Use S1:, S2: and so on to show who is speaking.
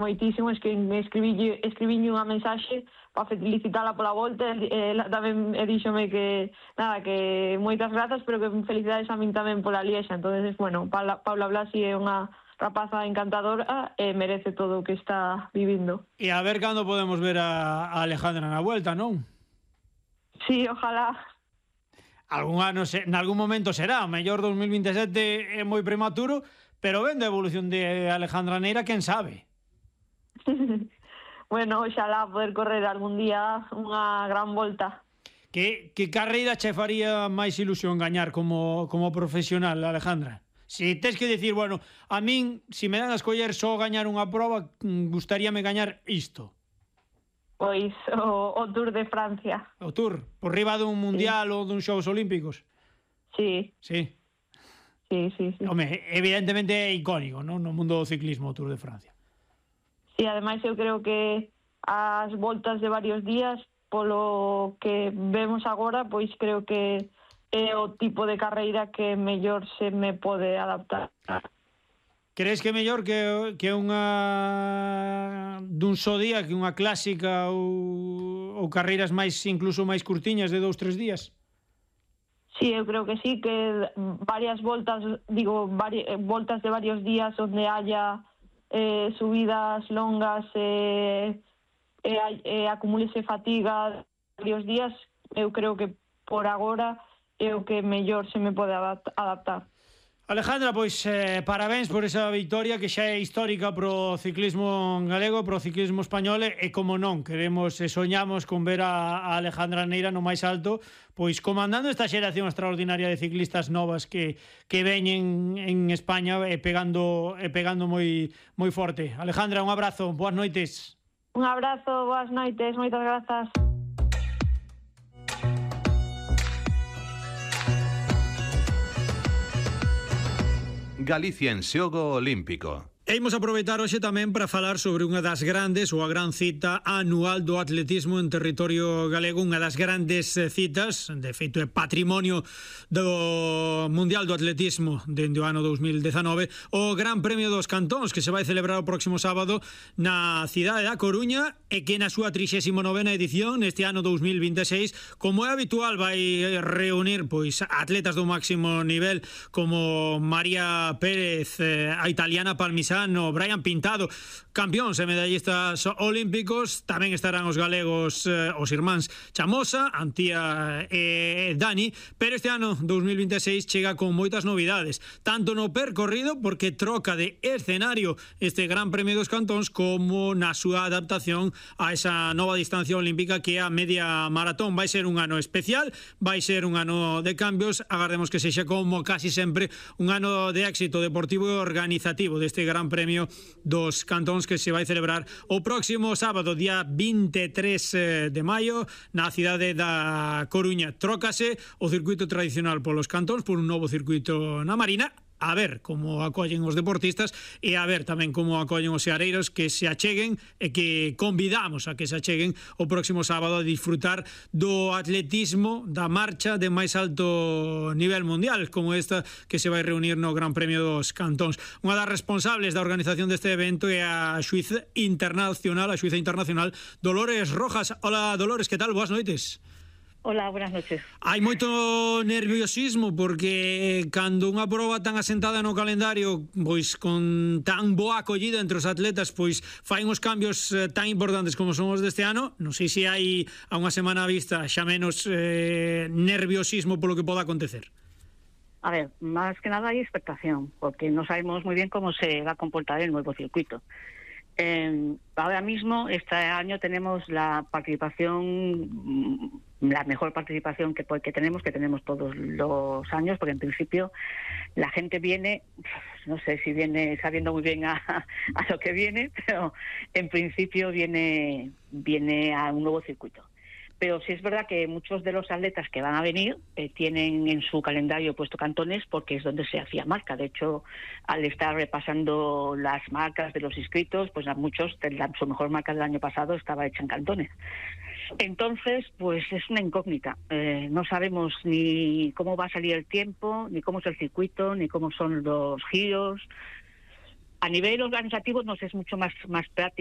S1: moitísimo, escribílle unha mensaxe para felicitala pola volta, ela tamén díxome que moitas grazas, pero que felicidades a min tamén pola Liexa. Entonces, bueno, Paula Blasi é unha rapaza encantadora e merece todo o que está vivindo.
S2: E a ver cando podemos ver a Alejandra na vuelta, non?
S1: Sí, ojalá.
S2: Nalgún momento será, mellor 2027 é moi prematuro, pero vendo a evolución de Alejandra Neira, quen sabe?
S1: Bueno, oxalá poder correr algún día unha gran volta.
S2: Que carreira che faría máis ilusión gañar como profesional, Alejandra? Si tes que dicir, bueno, a min, si me dan a escoller só gañar unha proba, gustaríame gañar isto.
S1: Pois o Tour de Francia.
S2: O Tour? Por riba dun mundial ou dun Xogos Olímpicos?
S1: Sí.
S2: Sí?
S1: Sí.
S2: Home, evidentemente é icónico, non? No mundo do ciclismo, o Tour de Francia.
S1: Sí, ademais eu creo que as voltas de varios días, polo que vemos agora, pois creo que é o tipo de carreira que mellor se me pode adaptar.
S2: Crees que é mellor que unha dun só día, que unha clásica ou carreiras incluso máis curtiñas de 2-3 días?
S1: Sí, eu creo que sí, que varias voltas, voltas de varios días onde haya subidas longas e acumulese fatiga varios días, eu creo que por agora é o que mellor se me pode adaptar.
S2: Alejandra, pois parabéns por esa victoria que xa é histórica pro ciclismo galego, pro ciclismo español, e como non, queremos e soñamos con ver a Alejandra Neira no máis alto, pois comandando esta xeración extraordinaria de ciclistas novas que veñen en España e pegando moi forte. Alejandra, un abrazo, boas noites.
S1: Un abrazo, boas noites, moitas grazas.
S3: Galicia en xogo olímpico.
S2: E imos aproveitar hoxe tamén para falar sobre unha das grandes ou a gran cita anual do atletismo en territorio galego, unha das grandes citas, de feito é patrimonio do Mundial do Atletismo dende o ano 2019, o Gran Premio dos Cantóns, que se vai celebrar o próximo sábado na cidade da Coruña e que na súa 39ª edición neste ano 2026, como é habitual, vai reunir pois atletas do máximo nivel como María Pérez, a italiana Palmisán, Brian Pintado, campións e medallistas olímpicos. Tamén estarán os galegos, os irmáns Chamosa, Antía e Dani, pero este ano 2026 chega con moitas novidades, tanto no percorrido, porque troca de escenario este Gran Premio dos Cantóns, como na súa adaptación a esa nova distancia olímpica que é a media maratón. Vai ser un ano especial, vai ser un ano de cambios, agardemos que sexa como casi sempre un ano de éxito deportivo e organizativo deste Gran Premio dos Cantóns, que se vai celebrar o próximo sábado, día 23 de maio, na cidade da Coruña. Trócase o circuito tradicional polos Cantóns por un novo circuito na Marina, a ver como acollen os deportistas e a ver tamén como acollen os seareiros, que se acheguen e que convidamos a que se acheguen o próximo sábado a disfrutar do atletismo, da marcha de máis alto nivel mundial, como esta que se vai reunir no Gran Premio dos Cantóns. Unha das responsables da organización deste evento é a xuíza internacional Dolores Rojas. Hola, Dolores, que tal? Boas noites.
S4: Hola, buenas noches.
S2: Hai moito nerviosismo porque cando unha proba tan asentada no calendario, pois con tan boa acollida entre os atletas, pois fai uns cambios tan importantes como son os deste ano. Non sei se hai a unha semana a vista xa menos nerviosismo polo que poda acontecer.
S4: A ver, más que nada hay expectación, porque no sabemos muy bien cómo se va a comportar el nuevo circuito. Ahora mismo, este año tenemos la participación, la mejor participación que tenemos todos los años, porque en principio la gente viene, no sé si viene sabiendo muy bien a lo que viene, pero en principio viene a un nuevo circuito. Pero sí es verdad que muchos de los atletas que van a venir tienen en su calendario puesto Cantones, porque es donde se hacía marca. De hecho, al estar repasando las marcas de los inscritos, pues a muchos, su mejor marca del año pasado estaba hecha en Cantones. Entonces, pues es una incógnita. No sabemos ni cómo va a salir el tiempo, ni cómo es el circuito, ni cómo son los giros. A nivel organizativo nos es mucho más práctico.